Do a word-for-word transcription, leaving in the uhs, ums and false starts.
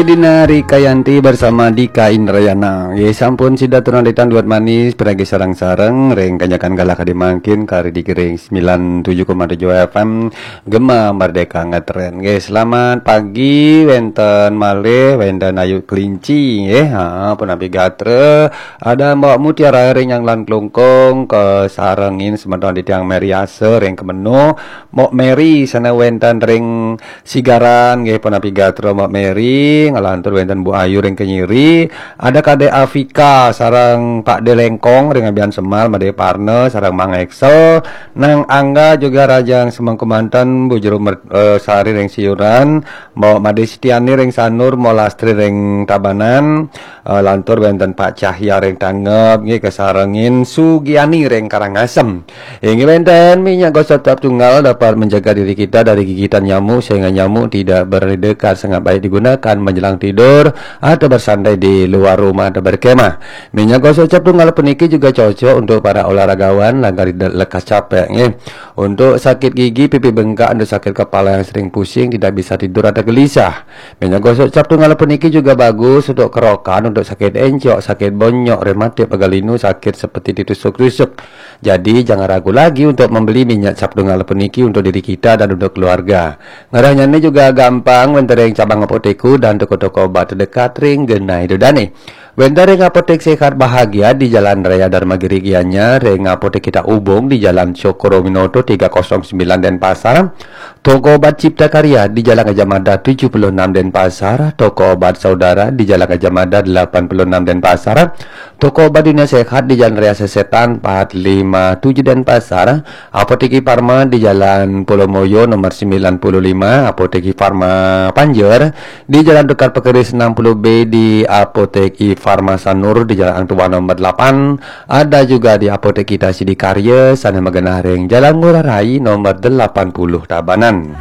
Dina Rikayanti bersama Dika Indrayana. Ye sampun sida tunan ditang duet manis, peragi sareng-sareng, ring kanyakan galah kadi mangkin, kari di ring sembilan tujuh koma tujuh F M, Gema Merdeka Ngetren. Nggih, selamat pagi, wenten malih, wenten Ayu Kelinci, nggih. Ha, punapi gatra, ada Mbok Mutiara ring Nyanglan Klungkung, kasarengin semeton di tiang Meriasa ring Kemeno, Mbok Meri sana wenten ring Sigaran, nggih, punapi gatra Mbok Meri, ngalantur wenten Bu Ayu ring Kenyiri, ada Kadek Afika, sareng Pak De Lengkong, ring Abian Semal, Made Parna, sareng Mang Excel, Nang Angga juga Rajang Semengku manten, Bu Jero Mer-, eh, Sari ring Siuran, Mbok Made Setiani ring Sanur, Mbok Lastri ring Tabanan, eh, lantur wenten Pak Cahya ring Tangeb, nggih, kasarengin Sugiani ring Karangasem. Inggih wenten, minyak gosok cap tunggal dapat menjaga diri kita dari gigitan nyamuk sehingga nyamuk tidak berdekat, sangat baik digunakan menjelang tidur atau bersantai di luar rumah atau berkemah. Minyak gosok cap tunggal puniki juga cocok untuk para olahragawan, langkah tidak lekas capek, nggih. Untuk sakit gigi, pipi bengkak, untuk sakit kepala yang sering pusing, tidak bisa tidur atau gelisah. Minyak gosok cap tunggal puniki juga bagus untuk kerokan, untuk sakit encok, sakit bonyok, rematik, pegal linu, sakit seperti ditusuk-tusuk. Jadi, jangan ragu lagi untuk membeli minyak cap tunggal puniki untuk diri kita dan untuk keluarga. Ngerahnyane juga gampang, wenten ring cabang apotek dan toko-toko obat terdekat ring genah ida dane. Wenten ring Apotek Sehat Bahagia di Jalan Raya Dharma Giri Gianyar, ring Apotek Kita Ubung di Jalan Cokroaminoto tiga kosong sembilan Denpasar, Toko Obat Cipta Karya di Jalan Gajah Mada tujuh puluh enam Denpasar, Toko Obat Saudara di Jalan Gajah Mada delapan puluh enam Denpasar, Toko Obat Dunia Sehat di Jalan Raya Sesetan empat lima tujuh Denpasar, Apotek Farma di Jalan Pulau Moyo nomor sembilan puluh lima, Apotek Farma Panjer di Jalan Tukad Pekeris enam puluh B, di Apotek Farma Sanur di Jalan Hang Tuah nomor delapan, ada juga di Apotek Kita Sidakarya, sana magenah ring Jalan Ngurah Rai nomor delapan puluh Tabanan.